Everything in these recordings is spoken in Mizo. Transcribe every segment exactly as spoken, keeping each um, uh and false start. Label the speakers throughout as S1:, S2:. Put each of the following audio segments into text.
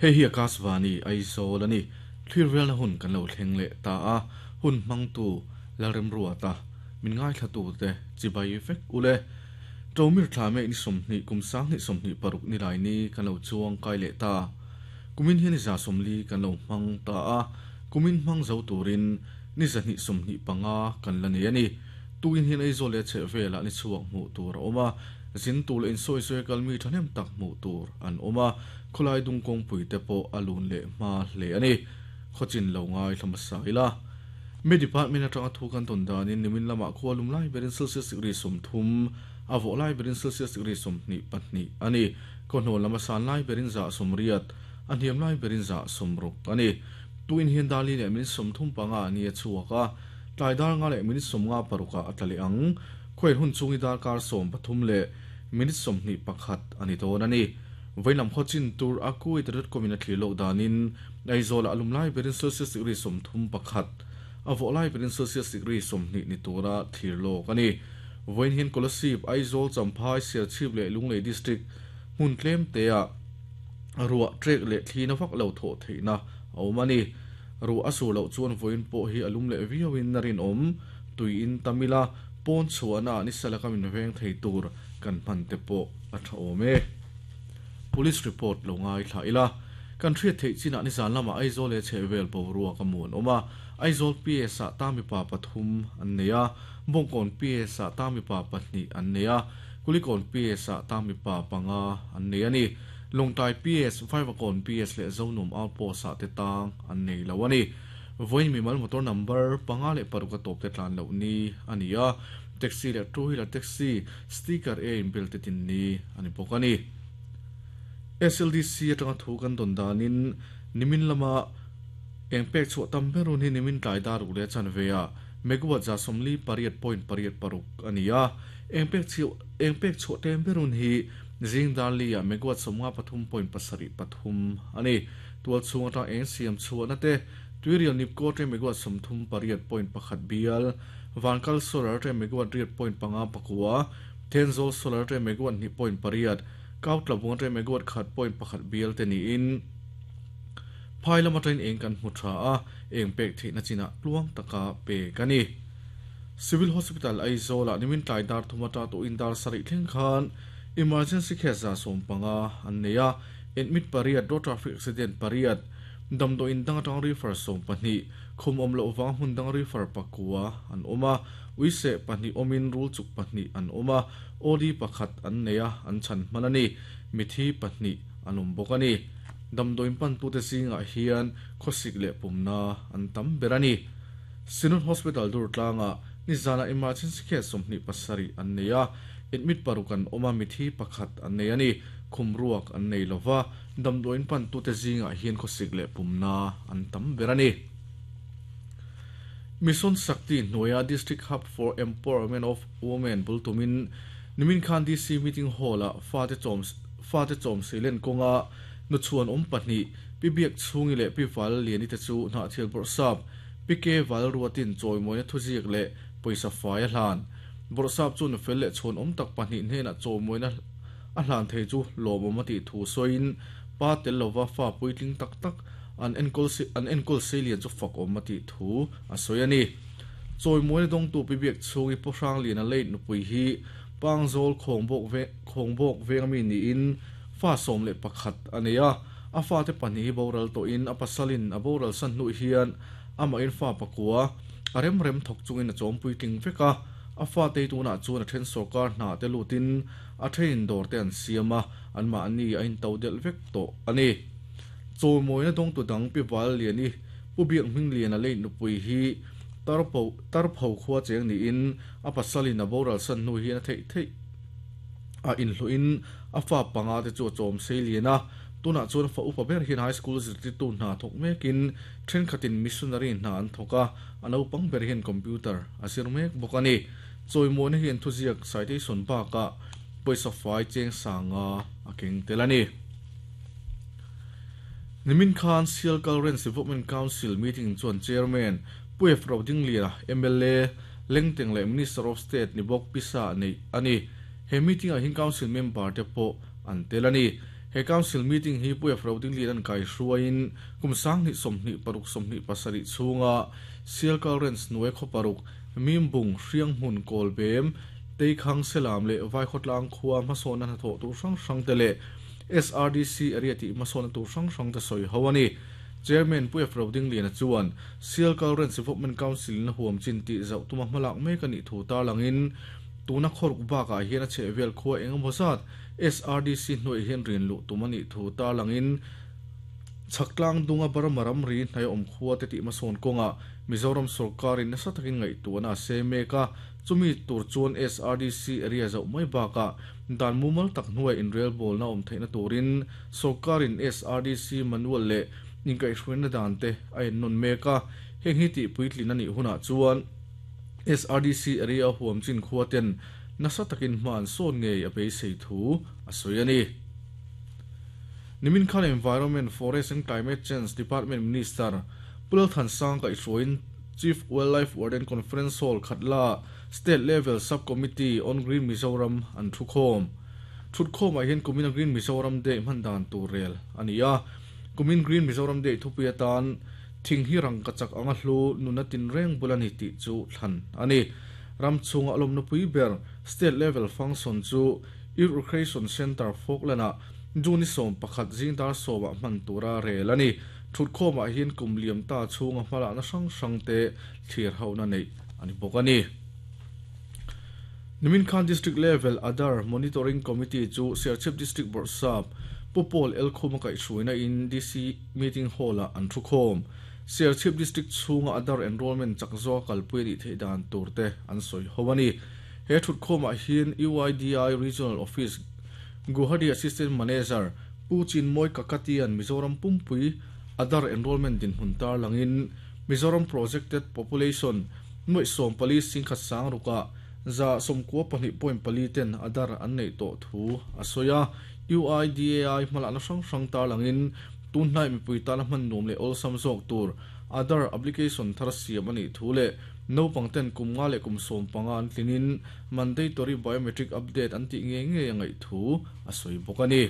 S1: Hei hi Akashvani Aizawl ani thlir velna hun kan lo thleng leh ta a hun hmangtu Lalremruata min ngai thlatu te chibai vek ule Tomir thlame ni somhni kumsang ni somhni paruk ni lai ni kan lo chuang kai leh ta kumin hian za somli kan lo hmang ta a kumin hmang zo turin ni zahni somhni panga kan la nei ani tuin hian Aizawl le che vela ni chuak mu tur a awma zin tul in soi soi kalmi thanem tak mu tur an awma khulai dung kong pui te pawh alun le ma hle ani khochin lo ngai thlama saila me department atanga thu kan ton danin nimin lama khwalum lai berin Celsius degree som thum avo lai berin Celsius degree som ni pahni ani kono lama san lai berin za somriat aniam lai berin za somruk ani tuin hian dali le min som thum panga ani chuaka tlai dar nga le min som nga paruka atali ang khoi hun chungi dar kar som pathum le minute som ni pakhat ani ton ani voilam khochin tur akui dot com in thli lo danin Aizawl alum lai berin Celsius degree som thum pakhat avo lai berin Celsius degree som ni ni tura thir lo kani voin hin Kolasib Aizawl Champhai Serchhip le Lunglei district hmun tlem te a ruwa trek le thlina vak lo tho theina awmani ru asu lo chuan voin po hi alum le viawin narin om tuin tamila pon chuana ni salaka min veng thei tur kan hman te po a tha awm e police report lo ngai thla ila kan thriat thei china ni zan lama Aizawl le chhevel bo ruwa ka mun oma Aizawl P S a tami pa pathum an neia Bongkon P S a tami pa pahni an neia Kulikon P S a tami pa panga an nei ani Longtai P S Vaivakawn P S le Zonum outpost a te tang an nei lo ani voin mi mal motor number panga le paruka top te tlan lo ni ania taxi le two wheeler taxi sticker a in bel te tin ni ani bawk ani S L D C atanga thu kan don danin nimin lama engpek chu tam berun hi nimin tlai dar ule chan veya megawatt za somli pariat point pariat paruk ania engpek chu engpek chu tem berun hi jing darli a megawatt somnga pathum point pasari pathum ani tual chunga ta eng siam chu na te tuirial nipko te megawatt somthum pariat point pakhat bial vankal solar te megawatt riat point panga pakua tenzol solar te megawatt ni point pariat kautlabung te megawatt khat point pakhat bial te ni in phailama train eng kan hmu tha a eng pek theihna china tluang taka pe kani Civil Hospital Aizawl a nimin tlai dar thumata to indar sari thleng khan emergency case za som panga an neia admit pariat road traffic accident pariat damdo in dang atang refer som pahni khum om lo wang hun dang refer pakua an oma uise pahni omin rul chuk pahni an oma odi pakhat an neia an chan manani mithi pahni anum bokani damdoin pan tu te singa hian khosik le pumna an tam berani Sinun Hospital dur tlanga nizana emergency case somni pasari an neia admit parukan oma mithi pakhat an nei ani khumruak an nei lova damdoin pan tu te zinga hian khosik le pumna an tam berani Mission Shakti Noya District Hub for Empowerment of Women bultumin nimin khan D C meeting hall a fa te chom fa te chom silen konga nu chuan om pahni pibiak chungi le piwal liani te chu na thial bor sap pike wal ruatin choimoina thuziak le poisa fai a hlan bor sap chu nu fel le chhon om tak pahni hne na choimoina a hlan thei chu lomom ati thu soin pa tel lova fa puitling tak tak an enkol se an enkol se lian chu fak om ati thu a soiani choimoina dong tu pibiak chungi po hrang lian a leit nu pui hi pangzol khongbok ve khongbok vengmi ni in fa som le pakhat ania a fa te pani boral to in a pasalin a boral san nu hian ama in fa pakua arem rem thok chungin a chompui tling veka a fa te tuna chuan a then sarkar hna te lutin a thein dor te an siama an ma ani a in to del vek to ani chomoina dong tu dang pi wal liani pu biak hming lian a leit nu pui hi tarpo tarpho khuwa cheng ni in a pasalin a boral san nu hian a thei thei a in hluin a fa panga te chu chom sei liana tuna chuan fa upa ber hian high school zirti tu hna thok mekin then khatin missionary hna an thoka ano pang ber hian computer asir mek bokani choimon hian thuziak citation ba ka poisa fai cheng sanga akeng telani Nimin Khan Sialkal Range Development Council meeting chuan chairman Puef Roding Lia M L A Lengteng le Minister of State ni bok pisa nei ani he meeting a hin council member te po an telani He council meeting hi puya frauding lian kai hruain kumsang ni somni paruk somni pasari chunga Sialkal Range nuai kho paruk mimbung hriang hmun kolbem teikhang selam le vai khotlang khuwa masona na tho tu hrang hrang te le S R D C area ti masona tu hrang hrang te soi hawani. Chairman Puya Frauding Lian chuan Sialkal Range Development Council na huam chin ti zau tuma hmalak mek ani thu tar langin tuna khoruk ba ka hian a chhevel khuwa engemaw zat S R D C hnuai hian rin lu tumani thu tar langin chaklang dunga baramaram ri hnai om khuwa te ti mason konga Mizoram sarkarin nasa takin ngai tuana se meka chumi tur chuan S R D C area zau mai ba ka dan mumal tak hnuai in rail ball na om theina turin sarkarin S R D C manual le inkai hruina dan te a en non meka heng hi ti puitlin ani huna chuan S R D C area huam chin khuwa ten nasa takin hman sawn ngei a beisei thu a sawi ani. Nimin Khan Environment, Forest and Climate Change Department Minister Pulal Thansang ka hruain Chief Wildlife Warden Conference Hall Khatla State Level Subcommittee on Green Mizoram an thukhawm. Thutkhawm ah hian Kumina Green Mizoram Day hman dan tur rel ani a. Kumin Green Mizoram Day thupui atan thing hi rang ka chak anga hlu nuna tin reng bulani ti chu thlan ani. Ramchunga alom na pui ber state level function chu Youth Recreation Center Falkland Juni som pakhat zingdar sowa hman tura rel ani. Thutkhawm ah hian kum liam ta chhunga hmala na hrang hrang te thlir ho na nei ani bawk ani. Nimin Khan District Level Aadhaar Monitoring Committee chu Serchhip District Board Sub Pupol El Khuma kai hruaina in D C Meeting Hall ah an thukhawm. Serchhip District chhunga Aadhaar enrollment chakzaw kalpui ri thei dan tur te an sawi ho ani. He thutkhawm ah hian U I D I Regional Office Guwahati Assistant Manager Pu Chinmoy Kakatian Mizoram Pumpui Aadhaar enrollment din hun tar langin Mizoram projected population noi som pali singkhat sang ruka za somkua pahnih point pali ten Aadhaar an nei tawh thu a sawi a. U I D A I hmala na hrang hrang tar langin tunhnai mipui tana hman nuam leh awlsam zawk tur Aadhaar application thar siam ani thu le naupang ten kum nga leh kum sawm panga an tlinin mandatory biometric update an tih nge nge a ngaih thu a sawi bawk ani.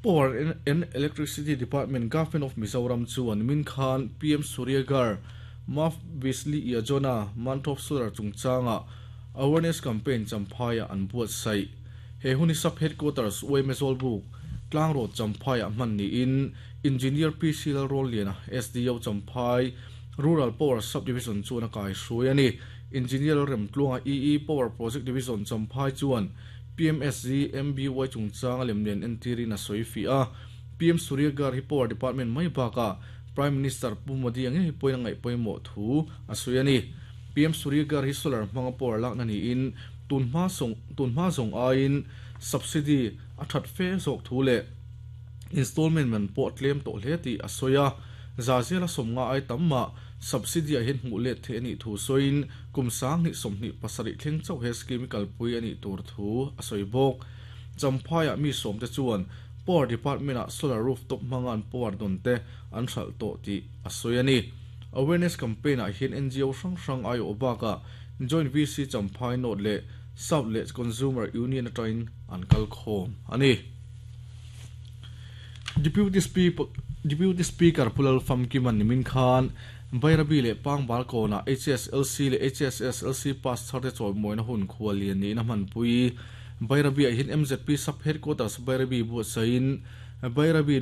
S1: Power and Electricity Department Government of Mizoram chuan Min Khan P M Suryaghar Muft Bijli Yojana Month of Solar chungchanga awareness campaign Champhai an buat sai. He huni sub headquarters Uemezol Book Tlang Road Champhai hman ni in Engineer P C L Roliana S D O Champhai Rural Power Subdivision chuan a kai hruai ani. Engineer Remtluanga E E Power Project Division Champhai chuan P M S G M B Y chungchanga lemlian entirin a sawi fi a. P M Suryaghar hi Power Department mai baka Prime Minister Pu Modi ange hi poina ngai pawimawh thu a sawi ani. P M Suryaghar hi solar hmanga power lak na ni in tunhma song tunhma zawng aiin subsidy a that fe zawk thu le installment man pawh tlem tawh hle tih a sawi a. Zazela sawmnga ai tamma subsidy a hian hmuh let the ani thu sawiin kum sang hnih sawmhnih pasarih thleng chauh he scheme kalpui ani tur thu a sawi bawk. Champhai ah mi sawm te chuan Power Department ah solar rooftop hmanga an power dawn te an hralh tawh tih a sawi ani. Awareness campaign ah hian N G O hrang hrang ai awh bakah Joint V C Champhai North le South le Consumer Union atangin an kal khawm ani. Deputy Speaker Deputy Speaker Pulal Famkiman Nimin Khan Bairabi le Pangbal kona H S L C le H S S L C pass tharte chawi mawina hun khual lian niin a hmanpui. Bairabi ah hian M Z P sub headquarters Bairabi buatsain Bairabi